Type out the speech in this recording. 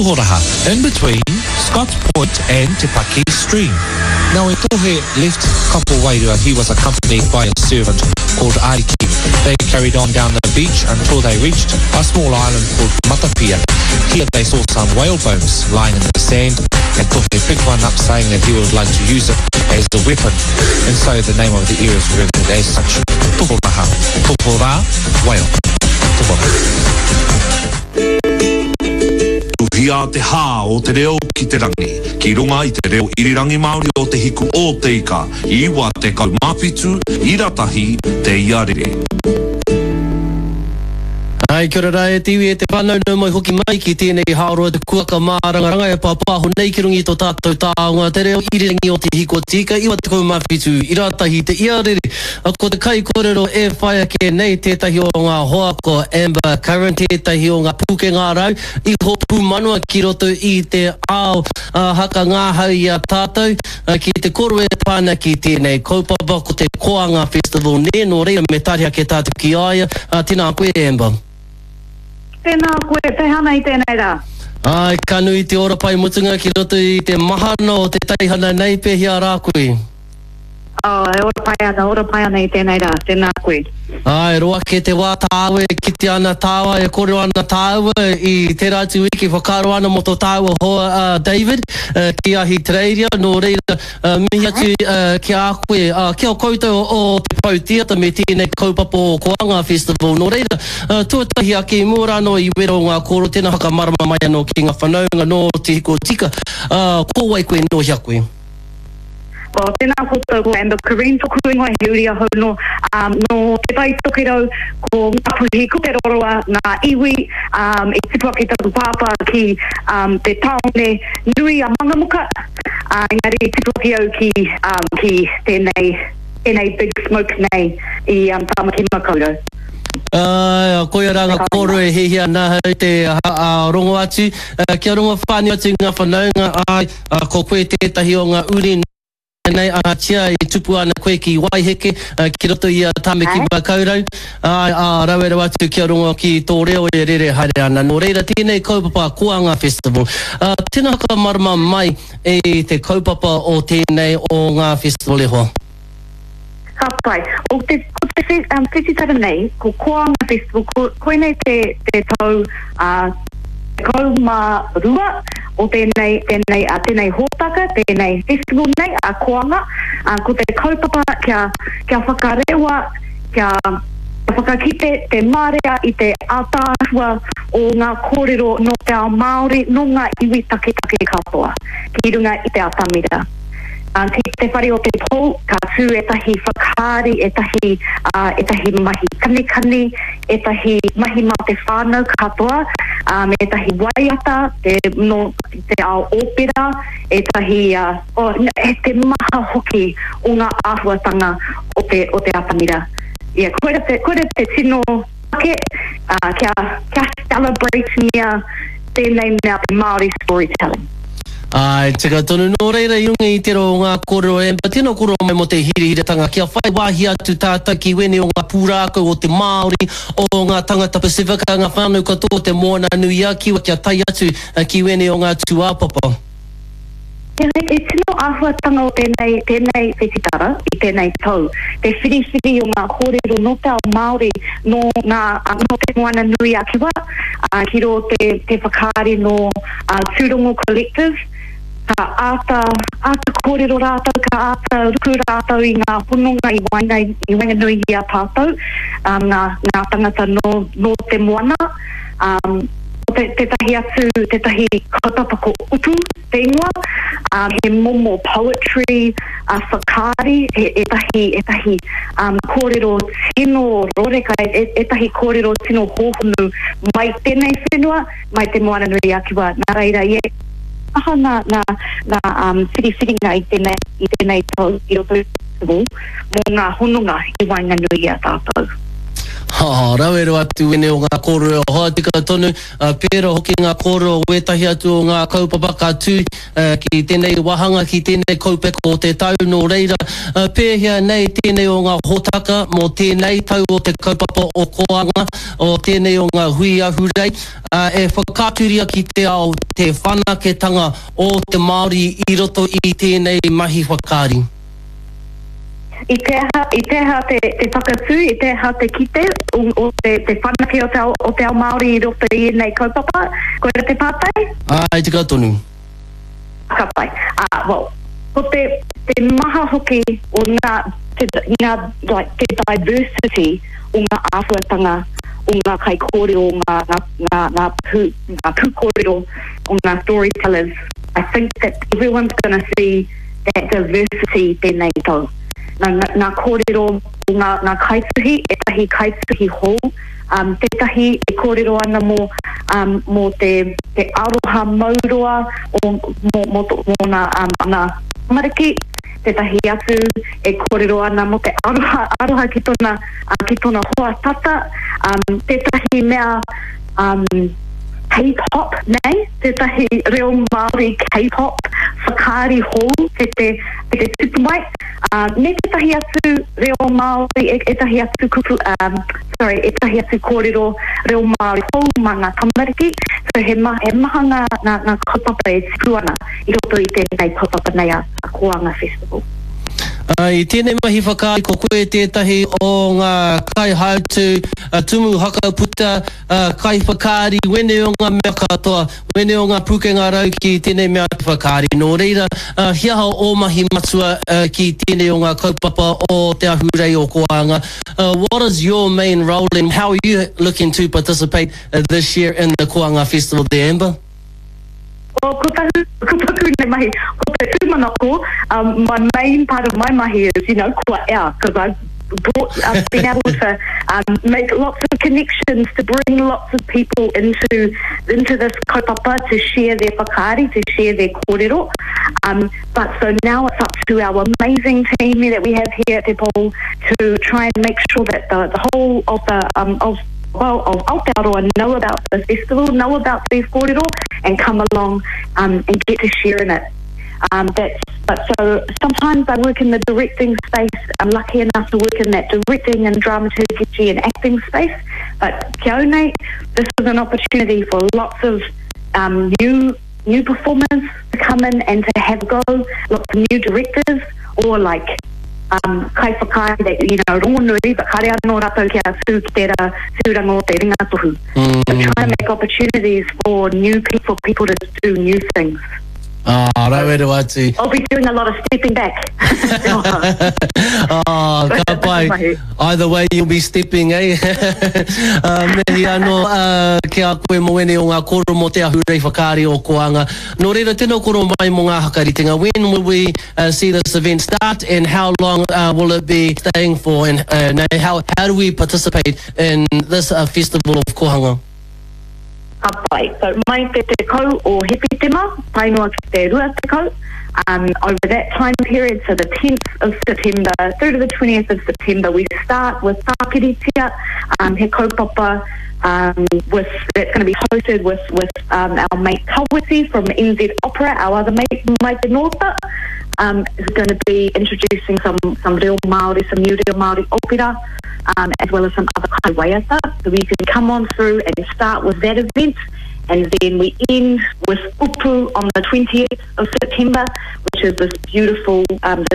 Tohoraha, in between Scotts Point and Te Paki Stream. Now when Tohe left Kapowairua he was accompanied by a servant called Ariki. They carried on down the beach until they reached a small island called Matapia. Here they saw some whale bones lying in the sand and Tohe picked one up saying that he would like to use it as a weapon. And so the name of the area is revered as such. Tohoraha, Tohora, whale. Tohora. Tuhia te hā o te reo ki te rangi, ki runga i te reo irirangi Māori o Te Hiku o Te Ika, 97 ira tahi te ia rere. Ai, kia ora rā e te iwi, e te whānau, nau mai hoki mai ki tēnei hāroa te kuaka mārangaranga e pāpāho nei ki runga i tō tātou taonga, te reo irirangi o Te Hiku o Te Ika, 97 ira tahi te ia rere. Ko te kaikōrero e whai ake nei tētahi o ngā hoa ko Amber Curran, tētahi o ngā pūkenga rau iho pūmanawa ki roto i te ao haka ngahau i a tātou ki te koro e pā ana ki tēnei kaupapa ko te Koanga Festival nē, nō reira me tari ake tātou ki a ia. Tēnā koe Amber. Tēnā koe, pēhea nei tēnei rā? Āe, ka nui te ora pai mutunga ki roto i te mahana o te teihana nei, pēhea rā koe? Oh, e ora pai ana, ora pai ana i tēnei rā, tēnā koe. Āe, roa ake te wā tāua e kite ana tāua, e kōrero ana tāua i tērā atu wiki, whakaaro ana mō tō tāua hoa a David ki Ahitereiria, nō reira, mihi atu ki a koe, ki a koutou o Te Pou Theatre me tēnei kaupapa o Koanga Festival, nō reira, tuatahi ake i mua rā anō i wero ngā kōrero, tēnā whakamarama mai anō ki ngā whanaunga nō Te Hiko Tika, ko wai koe, nō hea koe? Well, tēnā koutou, ko Amber Cureen toku ingoa, he uri ahau nō, um, nō Te Tai Tokerau, ko Ngāpuhi, ko Te Roroa, ngā iwi, um, i tipu ake taku pāpā ki um, te tāone nui a Mangamuka, uh, engari i tipu ake au ki, um, ki tēnei, tēnei big smoke nei i um, Tāmaki Makaurau. Āe, koia rā ngā kōrero e hiahia ana ahau te rongo atu, kia rongo whānui atu ngā whanaunga, āe, Ko koe tētahi o ngā uri nei, ahatia i tupu ana koe ki Waiheke, ki roto i a Tāmaki Makaurau, āe, ā, rawe rawa atu kia rongo ki tō reo e rere haere ana. Nō reira, tēnei kaupapa Koanga Festival. Tēnā whakamarama mai i te kaupapa o tēnei o ngā festival e hoa. Ka pai. O te, ko te whe, um, whetitara nei, ko Koanga Festival, ko, koinei te, te tau uh, 12 o tēnei, tēnei, uh, tēnei hōtaka, tēnei festival nei, a Koanga. Uh, ko te kaupapa kia, kia whakarewa, kia, kia whakakite te marea i te ātaahua o ngā kōrero nō te ao Māori, nō ngā iwi taketake katoa, ki runga i te atamira. Ki te whare o te pou, ka tū ētahi whakaari, ētahi, ētahi mahi kanikani, ētahi mahi mā te whānau katoa, me ētahi waiata, te, nō te ao ōpera, ētahi, oh, te maha hoki o ngā āhuatanga o te, o te atamira. Yeah, koira te, koira te tino take, kia, kia celebrate-ngia tēnei mea te Māori storytelling. Āe, tika tonu. Nō reira, i runga i tērā o ngā kōrero e Amber, tēnā kōrero mai mō te hirahiratanga kia whai wāhi atu tātou ki wēnei o ngā pūrākau o te Māori, o ngā tangata Pasifika, ngā whānau katoa o te Moana-nui-a-Kiwa kia tae atu ki wēnei o ngā tūāpapa. Engari, te tino āhuatanga o tēnei, tēnei whetitara i tēnei tau, te whiriwhiri o ngā kōrero nō te ao Māori, nō ngā, nō Te Moana-nui-a-Kiwa, ā, ki rō te, te whakaari nō Tūrongo Collective, ka āta, āta kōrero rātou, ka āta ruku rātou i ngā hononga i waenga, i waenganui i a tātou, ā, ngā, ngā tangata nō, nō te moana. Ā, ko te, tētahi atu, tētahi kaupapa ko Upu te ingoa, ā, he momo poetry, ā, whakaari, he, ētahi, ētahi, ā, kōrero tino roreka, e, ētahi kōrero tino hōhonu mai tēnei whenua, mai Te Moananui-a-Kiwa. Nā reira, i aha ngā, ngā, ngā, ā, whiriwhiringa i tēnei, i tēnei tau i roto i te festival mō ngā hononga i waenganui i a tātou. Ha, rawe rawa atu wēnei o ngā kōrero e hoa tika tonu, pērā hoki ngā kōrero o wētahi atu o ngā kaupapa ka tū ki tēnei wāhanga, ki tēnei kaupeka o te tau, nō reira, pēhea nei tēnei o ngā hōtaka mō tēnei tau o te kaupapa o Koanga, o tēnei o ngā hui ahurei, e whakaaturia ki te ao te whanaketanga o te Māori i roto i tēnei mahi whakaari? I te aha, i te aha te, te whakatū, i te aha te kite o, o te, te whanake o te ao, o te ao Māori i roto i ēnei kaupapa? Koira te pātai? Āe, tika tonu. Ka pai. Ā, well, ko te, te maha hoki o ngā, te, ngā, like, te diversity o ngā āhuatanga o ngā kaikōrero, o ngā, ngā, ngā, ngā pū, ngā pūkōrero, o ngā storytellers, I think that everyone's gonna see that diversity tēnei tau. Nā, ngā kōrero o ngā, ngā kaituhi, ētahi kaituhi hou, um, tētahi e kōrero ana mō, um, mō te, te aroha mauroa o, mō, mō tō, mōna, um, ana tamariki, tētahi atu e kōrero ana mō te aroha, aroha ki tōna, uh, ki tōna hoa tata, um, tētahi mea, um, K-pop nei, tētahi reo Māori K-pop whakaari hou kei te, kei te tupu mai, ā, me tētahi atu reo Māori, ētahi atu kupu, ā, sorry, ētahi atu kōrero reo Māori hou mā ngā tamariki. So he ma, he maha ngā, ngā, ngā kaupapa e tipu ana i roto i tēnei kaupapa nei a, a Koanga Festival. Ā, i tēnei mahi whakaari ko koe tētahi o ngā kaihautū, tumu hakaputa, Kaiwhakaari, wēnei o ngā mea katoa, wēnei o ngā pūkenga rau ki tēnei mea te whakaari. Nō reira, he aha ō mahi matua ki tēnei o ngā kaupapa o te ahurei o Koanga? What is your main role and how are you looking to participate this year in the Koanga Festival there, Amber? Well, ko taku, ko taku nei mahi, ko te tūmanako, um, my main part of my mahi is, you know, kua ea, because I've brought, I've been able to um, make lots of connections, to bring lots of people into, into this kaupapa, to share their whakaari, to share their kōrero. Um, but so now it's up to our amazing team that we have here at Te Pou to try and make sure that the, the whole of the, um, of well, of Aotearoa know about the festival, know about these kōrero, and come along um, and get to share in it. Um, that's, but so sometimes I work in the directing space. I'm lucky enough to work in that directing and dramaturgy and acting space. But kia au nei, this is an opportunity for lots of um, new new performers to come in and to have a go, lots of new directors or like um, kaiwhakaari that, you know, rongonui, but kare anō rātou kia tū ki tērā tūranga o te ringatohu. Mm. So trying to make opportunities for new people, people to do new things. Ah, rawe rawa atu. I'll be doing a lot of stepping back. Ah, ka pai. Either way you'll be stepping, eh? Uh, mihi anō uh, ki a koe mō ēnei o ngā kōrero mō te ahurei whakaari o Koanga. Nō reira, tēnā koro mai mō ngā hakaritenga. When will we uh, see this event start and how long uh, will it be staying for and uh, how, how do we participate in this uh, festival of Kohanga? Ka pai. So mai te 10 o Hepetema tae noa ki te 20, um, over that time period, so the 10th of September through to the 20th of September, we start with Tākiritia, um, he kaupapa um, with, that's going to be hosted with, with um, our mate Kawiti from NZ Opera, our other mate, Mike Northa, um, is going to be introducing some, some reo Māori, some new reo Māori opera, um, as well as some other kai waiata. So we can come on through and start with that event. And then we end with Upu on the 20th of September, which is this beautiful, um, this